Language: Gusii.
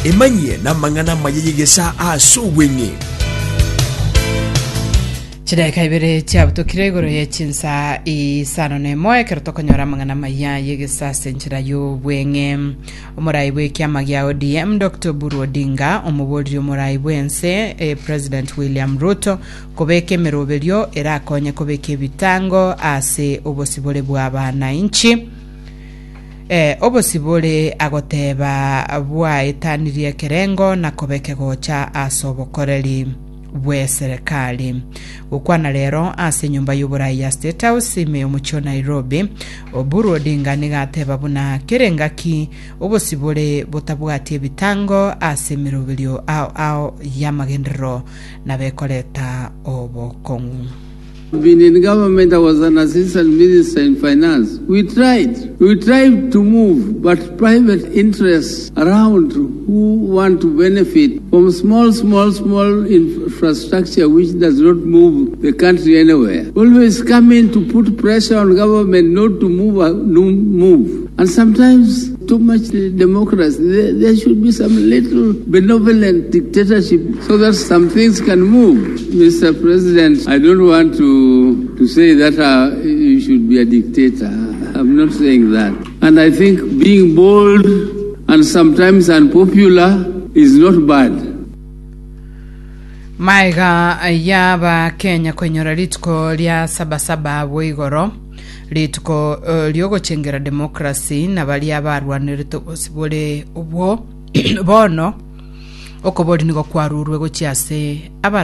Emanyie namang'ana amaya y'egesaa ase obweng'e. Chidaeka ibere chiabutokire igoro ye chinsa isano na emo ekero tokonyora amang'ana amaya y'egesaa ase enchera y'obweng'e. Omorai bw'ekiama gia ODM Dr. Oburu Odinga omoboriri omorai bw'ense eh, President William Ruto kobeka emeroberio erakonye kobeka ebitango ase obosibore bw'abanainchi. Eh, obosibore agoteba bwaetanirie ekerengo na koba ekegocha ase obokoreri bw'eserekari. Gokwana rero ase enyomba y'oborai ya State House ime y'omochie o Nairobi, Oburu Odinga nigo ateba buna kera engaki obosibore botabwati ebitango ase emeroberio ao ao y'amagenderero nabo ekoreta obokong'u. Been in government I was an assistant minister in finance we tried we tried to move but private interests around who want to benefit from small small small infrastructure which does not move the country anywhere always come in to put pressure on government not to move no move and sometimes too much democracy there, there should be some little benevolent dictatorship so that some things can move Mr. President I don't want to, to say that uh, you should be a dictator I'm not saying that and I think being bold and sometimes unpopular is not bad Maega y'Abakenya koinyora rituko ria Sabasaba abwo igoro, rituko eh, riogochengera demokrasi na baria barwanerete obosibore obwo bono okobori nigo kwarurwe gochia ase abara.